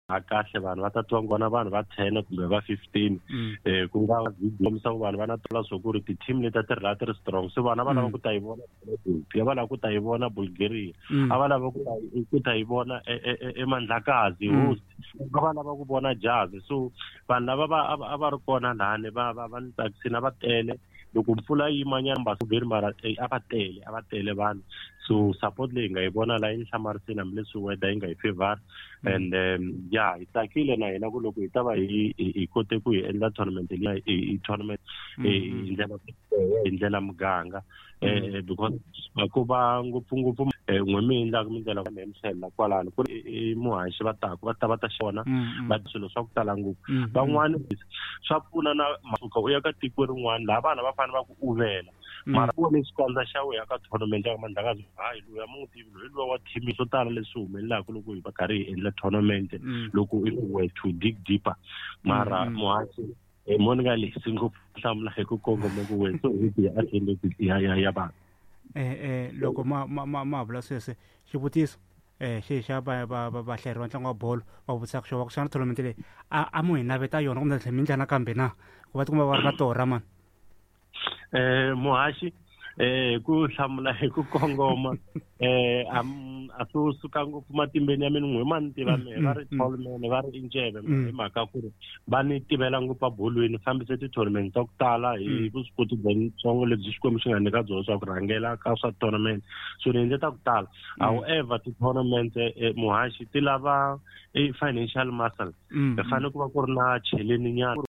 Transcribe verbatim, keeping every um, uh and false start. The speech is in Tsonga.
A kahle vanhu va ta twa ngona vanhu va ten kumbe va fifteen Mm. eh ku nga kombisa ku vanhu va na tola swo ku ri ti-team leti a ti ri laha ti ri strong, so vanhu a va lava Mm. ku ta yi vona Ethiopia, va lava ku ta yi vona Bulgaria, Mm. a va lava ku ta ku ta yi vona e- e- e- eMandlakazi Mm. host, a va lava ku vona Jazz. So vanhu lava va a va a va ri kona lani va va va ni tsakisini, a va tele. Loko mpfula yi yimanyana mbasuberi, mara eh, a va tele, a va tele vanhu. So support leyi hi nga yi vona laha yi ni hlamarisile, hambileswi weather yi nga hi favor. And um, ya hi tsakile na hina ku loko hi ta va hi hi hi kote ku hi endla tournament leyi, hi hi tournament eh, hi ndlela hi ndlela muganga, eh because ku va ngopfungopfu eh, n'we mi endlaka mi ndlela mi tlhela kwalano ku ri i muhaxi va taku va ta va ta xona Mm, mm. va swilo swa ku tala ngopfu. Mm, mm. Van'wani swa pfuna na masuka u ya ka tiko rin'wana laha vana va fanele va ku uvela, Mm. mara ku vone xikandza xa wehe ka tournament ya Mandlakazi, hayi, loyi a mu n'wi tivi loyi, luwa wa team. Swo tala leswi humelelaka loko hi va karhi hi endla tournament, Mm. loko if we were to dig deeper, mara Mm, mm. muhaxi eh, mo ni nga lehisi ngopfu, hlamula hi ku kongoma ku we so hi ya attendance ya ya ya vanhu. eh eh loko ma ma ma ma vula sweswe, xivutiso eh xi xa va va va vahleri va ntlangu wa bolo va vutisaka xo va ku xana tournament leyi a a mu hi naveta yona kumbe tlhela mi ndla nakambe na ku va tikuma va ri na torha mani? eh muhaxi, eh ku hlamula hi ku kongoma, eh am a swi suka ngopfu matimbeni ya mina. N'we ma ni tiva mehe, va ri Mm, mm. tallman, va ri Injeve Mm. hi mhaka ku ri va ni tivela ngopfu abolweni, fambise ti-tournament ta ku tala hi Mm. vuswikoti bya ntsongo lebyi Xikwembu xi nga nyika byona swa ku rhangela ka swa tournament. So ni endle ta ku tala. However, ti-tournament, eh, muhaxi, ti lava eh, financial muscle. Mm, Hi fanele ku va ku ri na cheleni nyana.